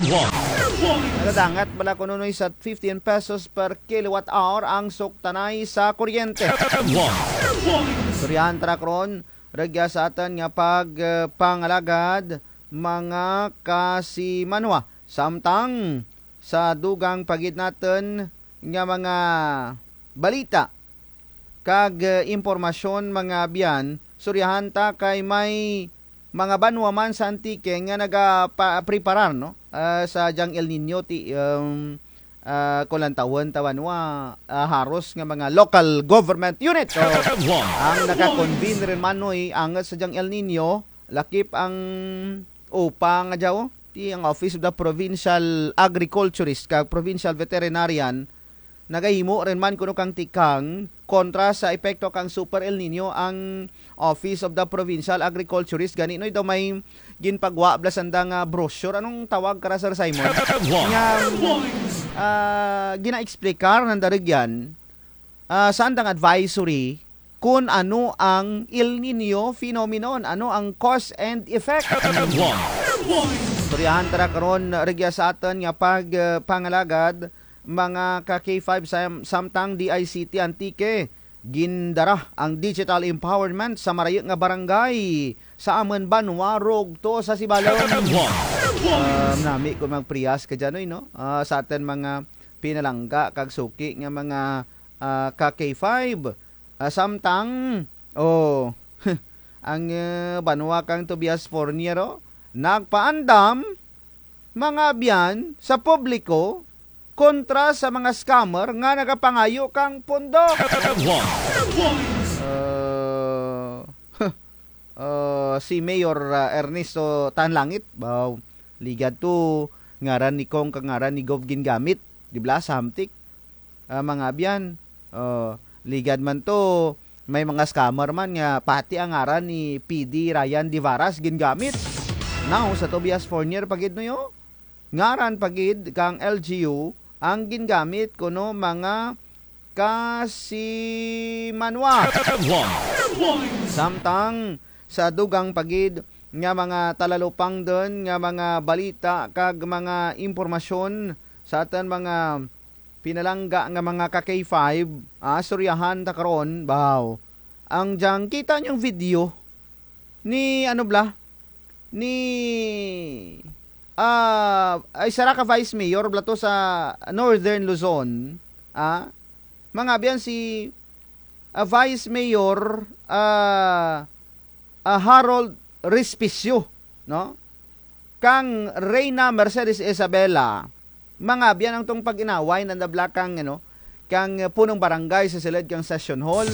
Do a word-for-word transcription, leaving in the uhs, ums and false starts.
Nagadangat bala kuno, Noy, sa fifteen pesos per kilowatt hour ang suktanay sa kuryente. Istoryahan ta ra karon, rugya sa atun nga pag, eh, pangalagad, mga kasimanwa. Samtang sa dugang pa gid natun nga mga balita kag, eh, impormasyon, mga abyan, istoryahan ta kay may mga banwa man sa Antique nga nagapa-, preparar, no? Ah, sa dyang El Niño ti, um, ah, kon lantawun ta banwa, ah, haros nga mga local government unit, o, ang naka-convene run man, Noy, angut sa dyang El Niño, lakip ang OPA nga dya, o, ti ang Office of the Provincial Agriculturist kag Provincial Veterinarian, nagahimo run man kuno kang tikang kontra sa epekto kang Super El Niño ang Office of the Provincial Agriculturist. Gani, Noy, daw may ginpagwa bala sanda nga brochure. Anong tawag kara, Sir Simon? Nga, ah, gina-explicar nanda rugyan, ah, sa andang advisory, kon ano ang El Niño phenomenon, ano ang cause and effect. Istoryahan ta ra karon, rugya sa atun nga pag, eh, pangalagad, mga ka K five sam-, samtang D I C T Antique, gindara ang digital empowerment sa marayu nga barangay sa amun banwa rugto sa Sibalom. Ah, nami kon magparehas ka dyan, Noy, no? Ah, sa atun mga pinalangga kag suki nga mga, ah, ka K five. Ah, samtang, o, ang, eh, banwa kang Tobias Fornier, o, nagpaandam, mga abyan, sa publiko kontra sa mga scammer nga nagapangayo kang pondo. Eh, eh, si Mayor, ah, Ernesto Tanlangit, baw, ligad to ngaran ni Cong kag ngaran ni Gov gingamit, di bala, sa hamtik. Ah, mga abyan, o, ligad man to, may mga scammer man nga pati ang ngaran ni P D Ryan Divaras gingamit. Now, sa Tobias Fornier pa gid, Noy, o, ngaran pa gid kang L G U ang gingamit kuno mga kasimanwa. Samtang sa dugang pa gid nga mga talalupangdun nga mga balita kag mga impormasyon sa atun mga pinalangga nga mga ka K five, ah, istoryahan ta karon, baw. Ang dyang kita niyong video ni, ano bala, ni, ah, ay, sara ka vice mayor bala to sa Northern Luzon, ah, mga abyan, si, ah, Vice Mayor, ah, ah, Harold Respicio, no? Kang Reyna Mercedes Isabela, mga abyan, ang tong pag-inaway nanda bala kang, ano, kang, eh, punong barangay sa sulud kang Session Hall.